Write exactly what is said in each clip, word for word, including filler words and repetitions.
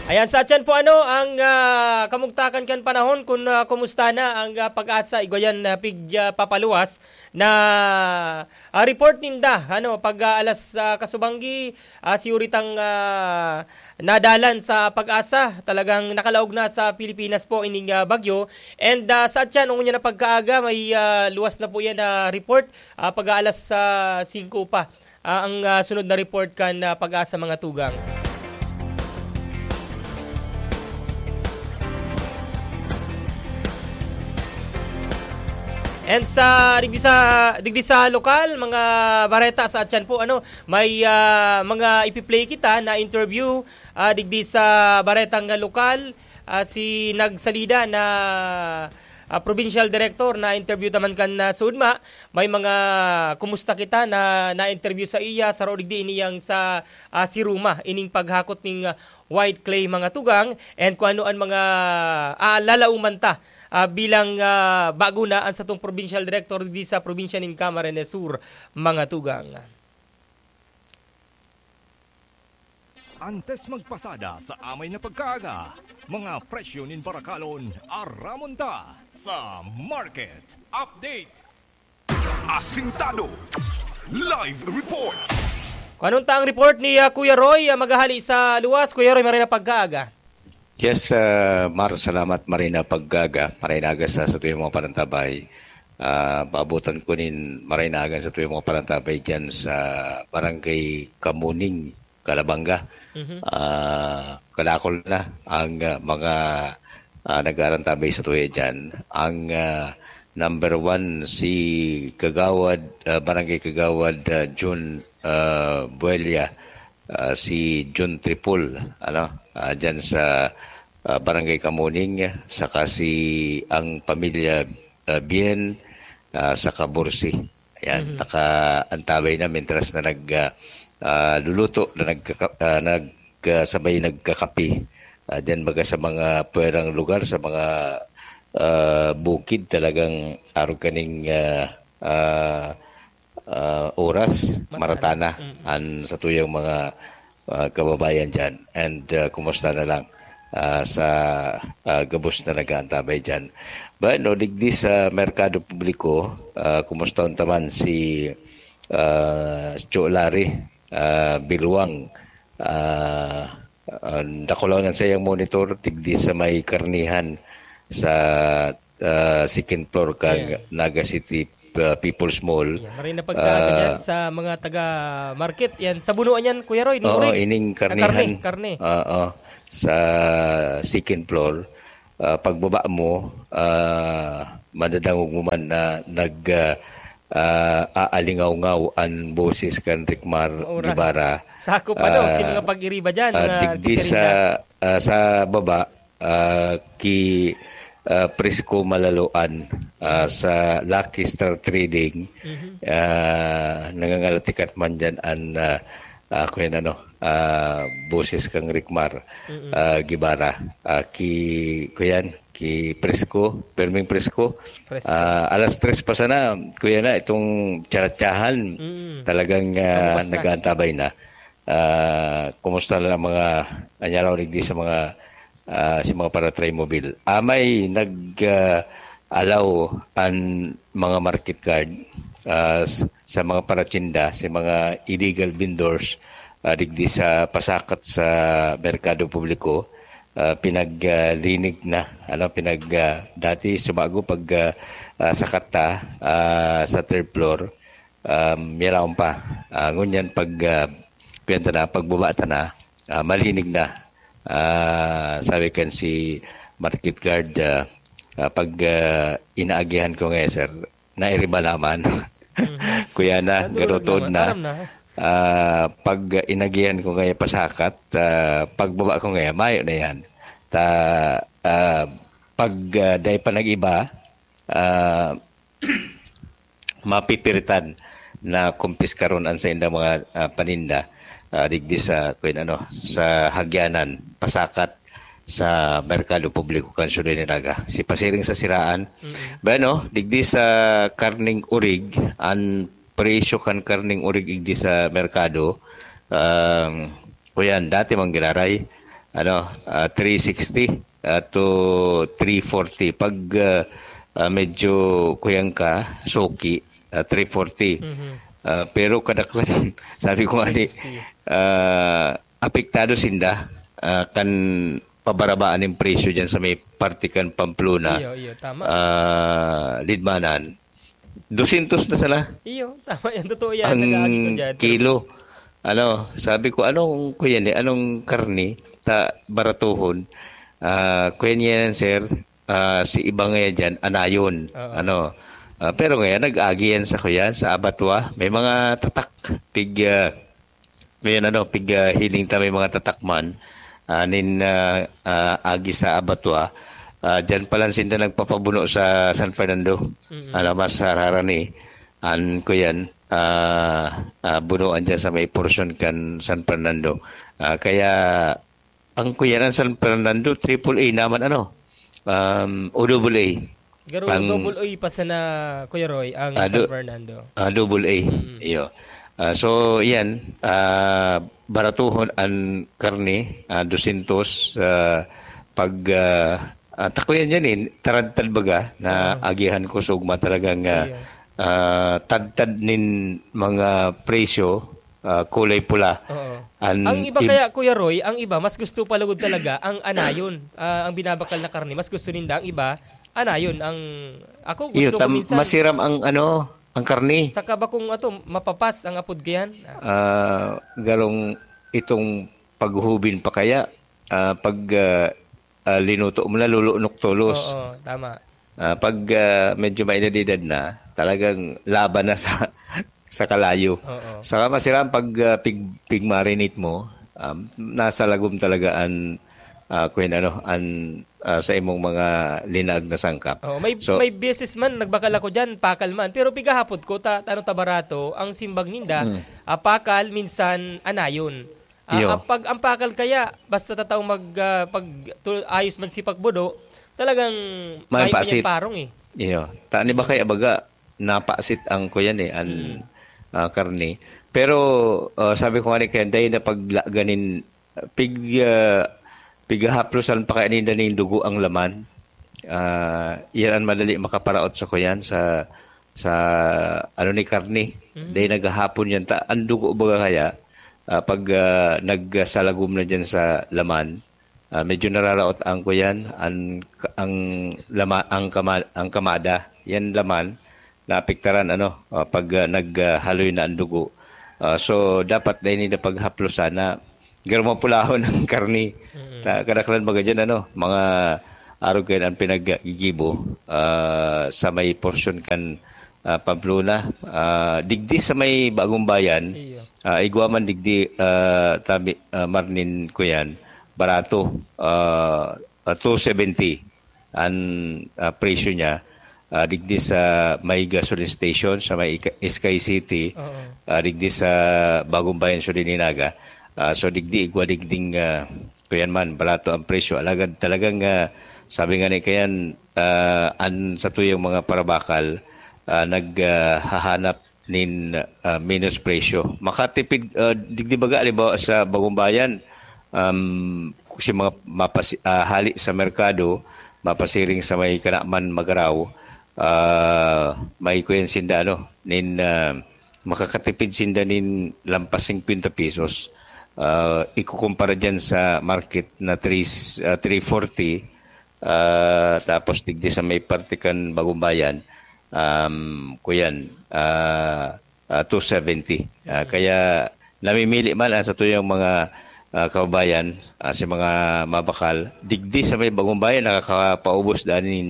Ayan, sa atyan po, ano, ang, ah, kamugtakan kan panahon, kun, ah, kumusta na ang, ah, PAGASA, igwa yan, ah, pig, ah, papaluwas na, ah, report ninda, ano, pag, ah, alas, ah, kasubanggi, ah, si Uritang, ah, nadalan sa PAGASA, talagang nakalaog na sa Pilipinas po ining, ah, bagyo. And, ah, sa atyan, ngunyan na pagkaaga, may, ah, luwas na po yan na report, ah, pag-aalas, ah, singko pa. Ah, ang, ah, sunod na report kan, ah, PAGASA, mga tugang. And sa digdi sa digdi sa lokal, mga bareta sa atyan po, ano, may, ah, mga ipi-play kita na interview, ah, digdi sa baretang lokal, ah, si nagsalida na, ah, provincial director na interview taman kan, ah, Sudma. May mga kumusta kita na na-interview sa iya, saro digdi ini yang sa, ah, si Ruma, ining paghakot ning, ah, white clay, mga tugang, and kung ano ang mga, ah, lalauman ta, ah, bilang, ah, bago na ang satong provincial director di sa probinsya nin Camarines Sur, mga tugang. Antes magpasada sa amay na pagkaaga, mga presyo nin barakalon, aramon ta sa Market Update. Asintado. Live report. Kung anong ta ang report ni, ah, Kuya Roy, ah, maghahali sa luwas. Kuya Roy, maray na pagkaaga. Yes, ah, Mar, salamat. Maray na pagkaaga. Maray na aga sa satuyang mga panantabay. Ah, paabutan ko nin maray na aga sa satuyang mga panantabay dyan sa Barangay Kamuning, Calabanga. Mhm. Ah, kadakol na ang, ah, mga, ah, nag-aarantabay sa tuya dyan. Ang, ah, number one, si Kagawad, ah, Barangay Kagawad, ah, Jun, ah, Buelia, ah, si Jun Tripol, ano, ah, dyan sa, ah, Barangay Kamuning, saka si ang pamilya, ah, Bien, ah, sa Kabursi. Ayan, Mhm. nakaantabay na mintras na nag, ah, ah, luluto, na nagkaka-, ah, nag, ah, sabay nagkakape. Ah, diyan baga sa mga puwerang lugar, sa mga, ah, bukid, talagang arog kaning, ah, ah, ah, oras, Maratana. maratana Mm. an satuyang mga, ah, kababayan diyan. And, ah, kumusta na lang, ah, sa, ah, gabos na nag-aantabay diyan? Bueno, digdi sa merkado publiko, ah, kumusta unta man si, ah, Cho Larry, ah, Bilwang? Ah, ah, dakulaw na sa iyang monitor, digdi sa may karnihan sa, ah, second floor kan Yeah. Naga City, ah, People's Mall. Yeah, maray na pagkaaga Ah, dyan sa mga taga-market. Yan, sa bunuan yan, Kuya Roy, ni Oo, Urig. ining Ah, karne, karnihan. karne. Oo, sa second floor. Ah, pagbaba mo, ah, madadangog mo man na nag, ah, ah, aalingawngaw an boses kan Ricmar Maura. Guevara. Sakop, ano, Ah, si mga pag-iriba dyan, ah, mga digdi sa, tikarinda. ah, sa baba, ah, ki, ah, Prisco Malaloan, ah, Mhm. sa Lucky Star Trading, Mhm. ah, nangangalatikat man dyan an, ah, ah, kuyan ano, ah, boses kang Ricmar, Mm. ah, Guevara. Ah, ki, kuyan, ki Prisco, Perming Prisco. Prisco. Ah, alas tres pa sana, kuya na, itong tsaratsahan, Mm. talagang, ah, Palabas na. nag-aantabay na. Ah, kumusta na ang mga anyaraw digdi sa mga, ah, sa mga para-Trimobile? Ah, may nag, ah, allow an mga market card, ah, s-, sa mga paratsinda, sa mga illegal vendors, ah, digdi sa pasakat sa merkado publiko, ah, pinaglinig na, ano, pinag, ah, dati sumago pag, ah, ah, sakat ta, ah, sa third floor, um, yaraon pa. Ah, ngunyan pag, ah, kuyan ta na, pagbaba ta na, ah, malinig na. Ah, sabi kan si market guard, ah, ah, pag, ah, inaagihan ko ngayon, sir, nairiba naman. Mhm. Kuya na, Nadurog garutod naman. na. Aram na. Ah, pag inagihan ko ngayon pasakat, ah, pagbaba ko ngayon, mayo na yan. Ta, ah, pag, ah, dai pa nag-iba, ah, mapipiritan na kumpiskaron an saindang mga, ah, paninda, ah, digdi sa, kuwan ano, sa hagyanan, pasakat sa merkado publiko kan syudad ni Naga. Si pasiring sa siraan. Mm. Bueno, digdi sa karning urig, an presyo kan karning urig digdi sa merkado, um, kuyan, dati man giraray, ano, ah, three sixty, ah, to three forty. Pag, ah, ah, medyo kuyang ka, suki, ah, three forty. Mhm. Ah, pero kadaklan, sabi ko nga ni, three sixty. Ah, apektado sinda, ah, kan pabarabaan nin presyo dyan sa may parte kan Pamplona, Iyo, iyo, tama. Ah, Lidmanan. Dosyentos na sana. Iyo, tama yan. Totoo yan. Ang Nag-aagi ko dyan. Kilo. Ano, sabi ko, "Anong, kuya ni, anong karne? Ta, baratuhon." Ah, kuya niya yan, sir. Ah, si iba nga yan dyan, anayon. Oo. Ano, ah, pero ngayon, nag-agi yan sa, kuya, sa abatwa. May mga tatak. Pig, ah, ngayon, ano, pig, ah, hiling ta may mga tatak man. Ah, nin, ah, ah, agi sa abatwa. Ah, dyan pa lang sinda nagpapabuno sa San Fernando. Mm-mm. Ano, mas hararani. An, kuyan, ah, ah, bunuan dyan sa may porsyon kan San Fernando. Ah, kaya, ang kuyan, ang San Fernando, triple A naman, ano, um, o double A. Garo Ang double A pa sana, Kuya Roy, ang Ah, San do- Fernando. Ah, double A. Mm. Iyo. Ah, so, yan, ah, baratuhon an karne, ah, dosyentos, ah, pag, ah, ah, takuyan yan eh, taradtad baga na Oo. agihan ko sa ugma talagang, ah, Iyo. ah, tadtad nin mga presyo, ah, kulay pula. Oo. An Ang iba im- kaya, Kuya Roy, ang iba, mas gusto pa lugod talaga ang anayon. Ah, ang binabakal na karne, mas gusto ninda ang iba, anayon. Ang, ako, Iyo, gusto ko tam- minsan, masiram ang, ano, ang karne. Saka ba kung ato, mapapas ang apod ko yan? Ah, garong itong paghubin pa kaya, ah, pag, ah, ah, linuto mo na, lulunok tolos. Oo, tama. Ah, pag, ah, medyo may edad-edad na, talagang laban na sa, sa kalayo. Oo. Saka masiram pag, ah, pig-, pig-marinate mo, um, nasa lagom talaga an, ah, kung ano, an, ah, sa imong mga linaag na sangkap. Oo, may, So may beses man, nagbakal ako dyan, pakal man. Pero pigahapot ko, ta-, tano ta barato, ang simbag ninda, Mm. ah, pakal, minsan anayon. Ah, Iyo. ah, pag ang pakal kaya, basta tataw mag, ah, pag tu-, ayos man si pagbudo, talagang May maayo pa pasit. niyang parong eh. Iyo. Tani ba kaya baga, napasit ang kuyan eh, an, Mm. ah, karne. Pero, ah, sabi ko nga ni Ken, dahil na pagla-, ganin, pig, ah, pigahaplosan pa kaya ninda ning dugo ang laman. Ah, yan ang madali makaparaot sa kuyan, sa, sa ano ni karne. Mm. Dahil naghahapon yan, ta-, ang dugo baga kaya, ah, pag, ah, nagsalagom na dyan sa laman, ah, medyo nararaot ang kuyan, ang, ang lama-, ang kama-, ang kamada, yan laman, naapektaran, ano, ah, pag, ah, nag, ah, haloy na ang dugo. Ah, so, dapat na ini na paghaplosan na garo mapulahon ang karne. Mm. Ta-, kadaklan baga dyan, ano, mga arog kayo ang pinaggigibo, ah, sa may porsyon kan, ah, Pamplona. Ah, digdi sa may Bagong Bayan, Iyo. ah, igwa man digdi, ah, tabi, ah, marnin ko yan, barato, ah, ah, two seventy an, ah, presyo niya, ah, digdi sa may gasoline station sa may Ika-, Sky City, Oo. ah, digdi sa Bagong Bayan, Sudininaga. Ah, so, digdi, igwa digding, ah, kuyan man, barato ang presyo. Alagad talagang, ah, sabi nga ni Kayan, ah, an sa tuyang mga parabakal, ah, nag, ah, hahanap nin, ah, menos presyo. Makatipid, ah, digdi baga, halimbawa, sa Bagong Bayan, um, si mga mapasi-, ah, hali sa merkado, mapasiring sa may Kanaman, Magarao, ah, may kuyan sinda, ano, nin, ah, makakatipid sinda nin lampas singkwenta pesos. Ah, ikukumpara dyan sa market na three, ah, three forty, ah, tapos digdi sa may parte kan Bagong Bayan, um, kuyan, ah, ah, two seventy. Ah, Mm. kaya namimili man ang satuyang mga, ah, kababayan, ah, sa mga mabakal, digdi sa may Bagong Bayan, nakakapaubos daan nin,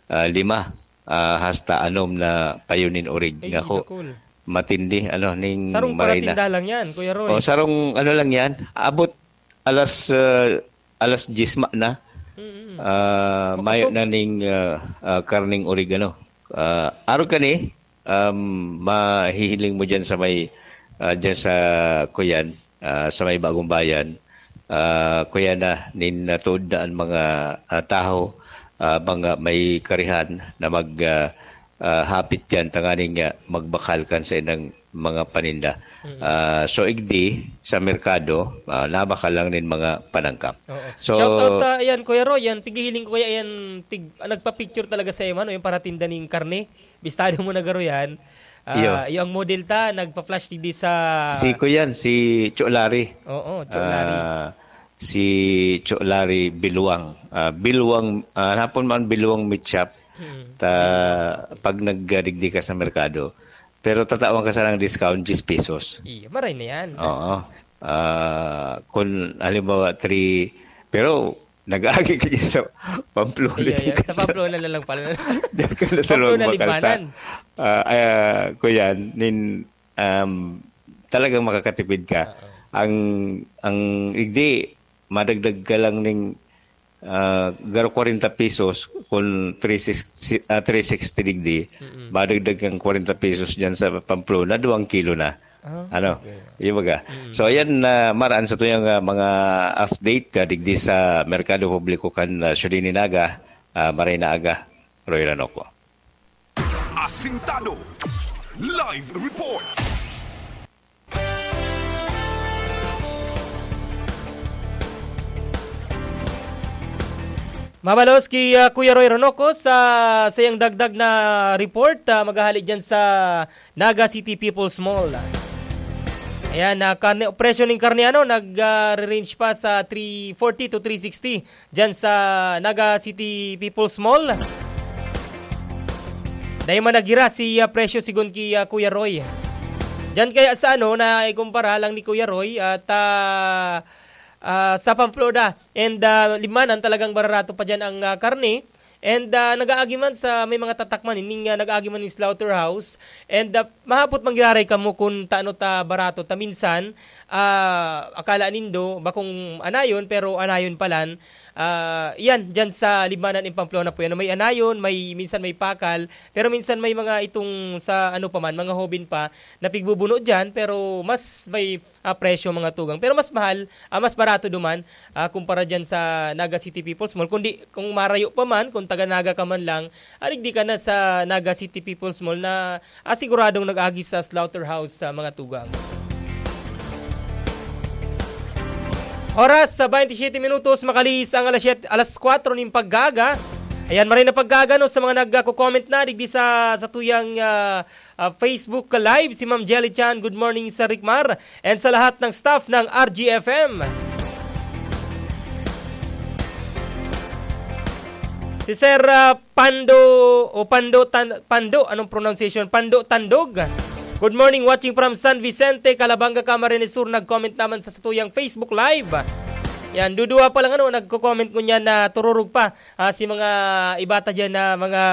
ah, lima, ah, hasta anom na payo nin orig. Ay, Ngako, dakul. matindi, ano, ning Sarong maray na. paratinda lang yan, Kuya Roy. O, sarong ano lang yan, abot alas, ah, alas dyes ma na. Mm-mm. Ah, Makasog. mayo na ning, ah, ah, karning orig, ano. Ah, arog kani, um, mahihiling mo dyan sa may, ah, dyan sa, kuyan, ah, sa may Bagong Bayan. Ah, kuyan na, nin natuod na ang mga, ah, taho, ah, mga may karihan na mag, ah, ah, hapit dyan, tanganing, ah, magbakal kan sa inang mga paninda. Mm. Ah, so, igdi sa merkado, ah, nabakal lang nin mga panangkap. Oo. So, shout out, ah, ayan, Kuya Roy, yan, tighihiling ko kaya yan, tig-, ah, nagpa-picture talaga sa iyo, ano, yung paratinda ning karne. Bistado mo na garo yan. Ah, iyo. Iyo ang model ta, nagpa-flash digdi sa Si Kuyan, si Cho Larry. Oo, Cho Larry. Ah, si Cho Larry Biluang. Ah, Biluang, ah, hapon man Biluang Meat Shop. Mm. Ta, pag nagdigdi ka sa merkado, pero tatawan ka sana ng discount, diyes pesos. Iyo, maray na yan. Oo. Ah, kung halimbawa, three, pero nag-aagi ka dyan sa Pamplona. Iyo, dyan yan. Sa ka sa Pamplona na lang pala. Diyan ka na sa Pamplona, loob, bakal ta. Libmanan. Ah, ah, Kuyan, nin, um, talagang makakatipid ka. Oo. Ang, ang igdi, madagdag ka lang ning, ah, garo kwarenta pesos, kung three sixty, ah, three sixty digdi, Mm-mm. madagdag kang kwarenta pesos dyan sa Pamplona, duwang kilo na. Ah, Ano? okay. Yung baga. Mm. So, ayan, ah, maraan sa tuyang, ah, mga update, ah, digdi sa Merkado Publiko kan, ah, Siyudad ni Naga, ah, maray na aga, Roy Ranoco. Asintado. Live report. Mabalos ki, ah, Kuya Roy Ronoco sa sayang dagdag na report, ah, maghahali dyan sa Naga City People's Mall. Ayan, ah, karne, presyo ning karne, ano, nag, ah, range pa sa three forty to three sixty dyan sa Naga City People's Mall. Dai man naghira si, ah, presyo sigon ki, ah, Kuya Roy. Diyan kaya sa ano, na ikumpara lang ni Kuya Roy at, ah, ah, sa Pamplona. And, ah, Libmanan talagang bararato pa diyan ang, ah, karne. And, ah, nag-aagi man sa may mga tatak man, ining, ah, nag-aagi man ning slaughterhouse. And, ah, mahapot manggiraray kamo kun taano ta barato ta minsan, ah, akala nindo bakong anayon, pero anayon palan. Ah, iyan, diyan sa Libmanan in Pamplona po yan. May anayon, may, minsan may pakal, pero minsan may mga itong sa ano pa man, mga hobin pa na pigbubuno diyan, pero mas may, ah, presyo, mga tugang. Pero mas mahal, ah, mas barato duman, ah, kumpara diyan sa Naga City People's Mall. Kundi kung marayo pa man, kung taga Naga ka man lang, alig di ka na sa Naga City People's Mall na, ah, siguradong nag-agi sa slaughterhouse sa mga tugang. Oras sa twenty-seven minutos, makalihis ang alas siyete, alas kwatro nin pagkaaga. Ayan, maray na pagkaaga, no, sa mga nagko-comment na digdi sa, sa tuyang, ah, ah, Facebook Live, si Ma'am Jelly Chan. Good morning, Sir Rickmar, and sa lahat ng staff ng R G F M. Si Sir, ah, Pando o Pando Tan-, Pando, anong pronunciation? Pando Tandog. Good morning, watching from San Vicente, Calabanga, Camarines Sur. Nag-comment naman sa satuyang Facebook Live. Yan, duduwa pa lang, ano, nagko-comment ngunyan na tururog pa, ah, si mga iba ta dyan na mga,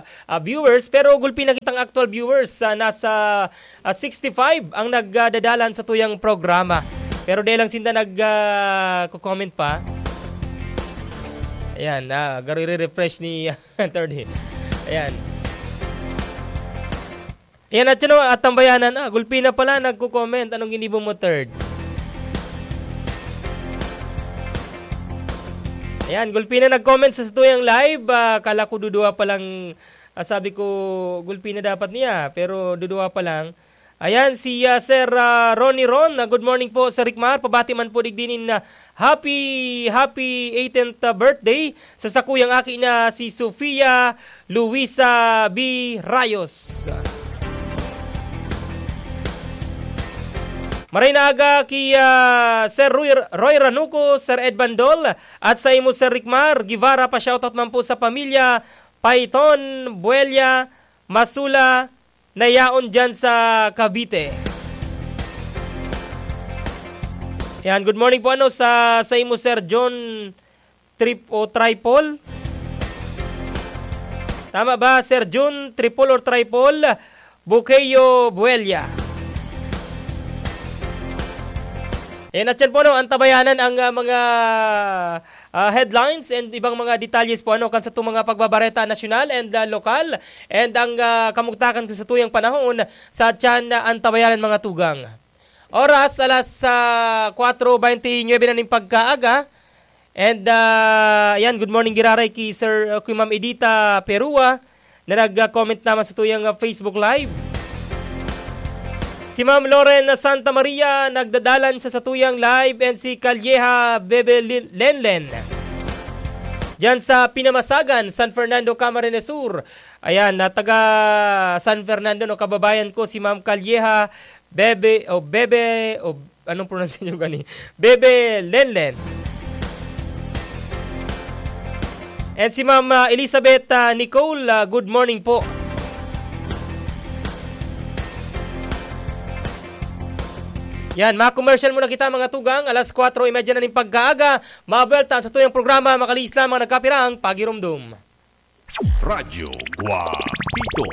ah, viewers. Pero gulpi na kitang actual viewers, ah, nasa, ah, sixty-five ang nagdadalan sa tuyang programa. Pero dahil lang sinda nag, ah, comment pa. Ayan, ah, garo i-refresh ni, ah, Third Hit. Ayan. Ayan, at yun, at tambayanan, ah, gulpi na pala, nagko-comment. Anong ginibo mo, Third? Ayan, gulpi na nag-comment sa satuyang live. Ah, kala ko duduwa pa lang, ah, sabi ko, gulpi na dapat niya, pero duduwa pa lang. Ayan, si, ah, Sir, ah, Ronnie Ron. Ah, good morning po, Sir Rickmar. Pabati man po digdi nin, ah, happy, happy eighteenth birthday sa sakuyang aki na si Sofia Luisa B. Rayos. Maray na aga ki, ah, Sir Roy, Roy Ranuco, Sir Ed Bandol, at sa imo, Sir Rickmar Guevara. Pa-shoutout man po sa pamilya Paiton, Buelia, Masula, na yaon dyan sa Cavite. Yan, good morning po, ano, sa, sa imo, Sir John Trip o Tripol? Tama ba, Sir John Tripol or Tripol? Bukeyo Buelia. Yan, at yan po, no, antabayanan ang, ah, mga, ah, headlines and ibang mga detalyes po, ano, kan sa itong mga pagbabareta nasyonal and, ah, lokal. And ang, ah, kamugtakan sa tuyang panahon sa tiyan na antabayanan, mga tugang. Oras, alas, ah, kwatro beintinuebe na ning pagkaaga. And, ah, yan, good morning, giraray ki Sir, ah, ki Ma'am Edita Perua, na nag-comment naman sa tuyang, ah, Facebook Live. Si Ma'am Loren na Santa Maria nagdadalan sa satuyang live, and si Calleja Bebe Lin-, Lenlen. Diyan sa Pinamasagan, San Fernando, Camarines Sur. Ayan, na taga San Fernando, no, kababayan ko, si Ma'am Calleja Bebe, o Bebe, o anong pronunciation gani? Bebe Lenlen. And si Ma'am, ah, Elizabeth, ah, Nicole, ah, good morning po. Yan, mga commercial muna kita, mga tugang. Alas kwatro y medya na ning pagkaaga. Mabuelta sa tuyang programa, Makalihis Lamang Nagkapirang Pagirumdom. Radyo Guapito.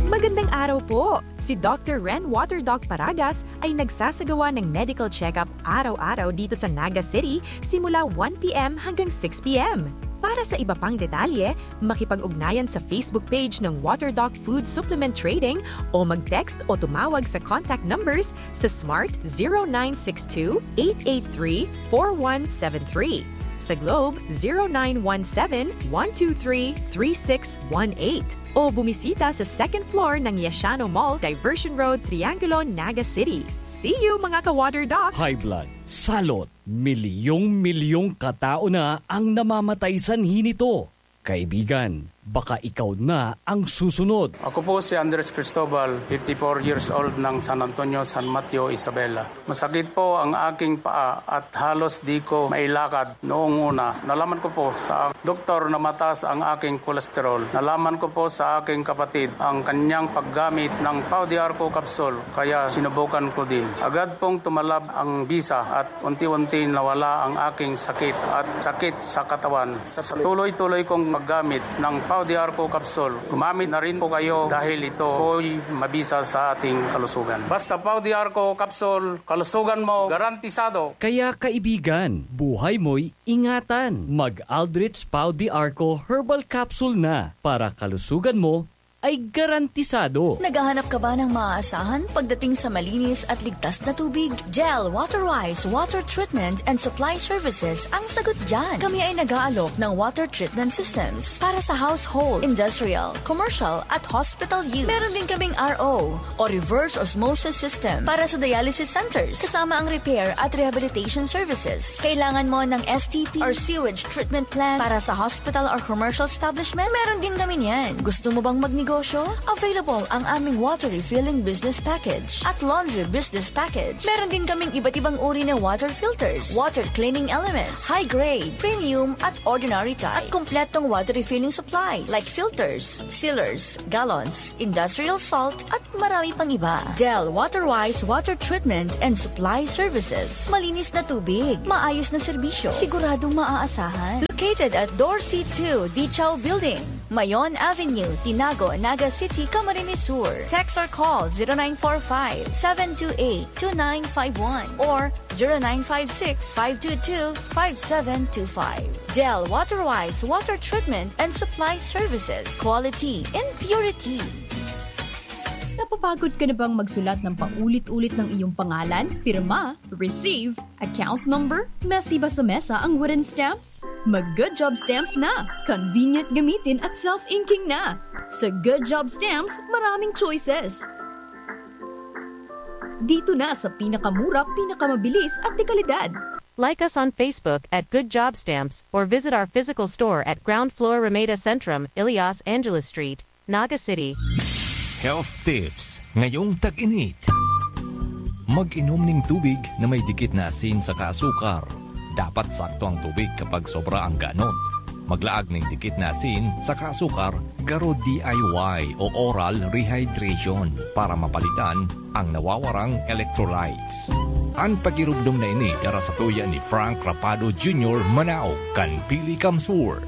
Magandang araw po! Si Doctor Ren Water Doc Paragas ay nagsasagawa ng medical check-up araw-araw dito sa Naga City simula one p m hanggang six p m. Para sa iba pang detalye, makipag-ugnayan sa Facebook page ng Water Doc Food Supplement Trading o mag-text o tumawag sa contact numbers sa Smart zero nine six two, eight eight three, four one seven three, sa Globe zero nine one seven, one two three, three six one eight, o bumisita sa second floor ng Yashano Mall, Diversion Road, Triangulo, Naga City. See you, mga ka-Water Doc! High blood, salot, milyong-milyong katao na ang namamatay sanhi nito. Kaibigan, baka ikaw na ang susunod. Ako po si Andres Cristobal, fifty-four years old ng San Antonio, San Mateo, Isabela. Masakit po ang aking paa at halos di ko mailakad noong una. Nalaman ko po sa doktor na mataas ang aking kolesterol. Nalaman ko po sa aking kapatid ang kanyang paggamit ng Pau de Arco capsule, kaya sinubukan ko din. Agad pong tumalab ang bisa at unti-unti nawala ang aking sakit at sakit sa katawan. Sa tuloy-tuloy kong paggamit ng Pau de Arco capsule, gumamit na rin po kayo dahil ito po'y mabisa sa ating kalusugan. Basta Pau de Arco capsule, kalusugan mo garantisado. Kaya kaibigan, buhay mo'y ingatan. Mag Aldrich Pau de Arco Herbal Capsule na para kalusugan mo ay garantisado. Naghahanap ka ba ng maaasahan pagdating sa malinis at ligtas na tubig? Del Waterwise Water Treatment and Supply Services ang sagot dyan. Kami ay nag-aalok ng water treatment systems para sa household, industrial, commercial at hospital use. Meron din kaming R O o reverse osmosis system para sa dialysis centers, kasama ang repair at rehabilitation services. Kailangan mo ng S T P or sewage treatment plant para sa hospital or commercial establishment? Meron din kami niyan. Gusto mo bang magnegosyo? Available ang aming water refilling business package at laundry business package. Meron din kaming iba't ibang uri na water filters, water cleaning elements, high grade, premium at ordinary type, at kompletong water refilling supplies like filters, sealers, gallons, industrial salt, at marami pang iba. Del Waterwise Water Treatment and Supply Services. Malinis na tubig, maayos na serbisyo, siguradong maaasahan. Located at Dorsey two Dichaw Building, Mayon Avenue, Tinago, Naga City, Camarines Sur. Text or call zero nine four five, seven two eight, two nine five one or zero nine five six, five two two, five seven two five. Del Waterwise Water Treatment and Supply Services. Quality in purity. Napapagod ka na bang magsulat ng paulit-ulit ng iyong pangalan, pirma, receive, account number, mesa ba sa mesa ang wooden stamps? Mag Good Job Stamps na! Convenient gamitin at self-inking na! Sa Good Job Stamps, maraming choices. Dito na sa pinakamura, pinakamabilis at dekalidad. Like us on Facebook at Good Job Stamps or visit our physical store at ground floor Ramada Centrum, Elias Angeles Street, Naga City. Health Tips ngayong tag-init. Mag-inom ning tubig na may dikit na asin saka asukar. Dapat sakto ang tubig kapag sobra ang ganot. Maglaag ning dikit na asin saka asukar, garo D I Y o oral rehydration para mapalitan ang nawawarang electrolytes. An pagirumdom na ini dara sa tuya ni Frank Rapado Junior Manao kan Pili Kamsur.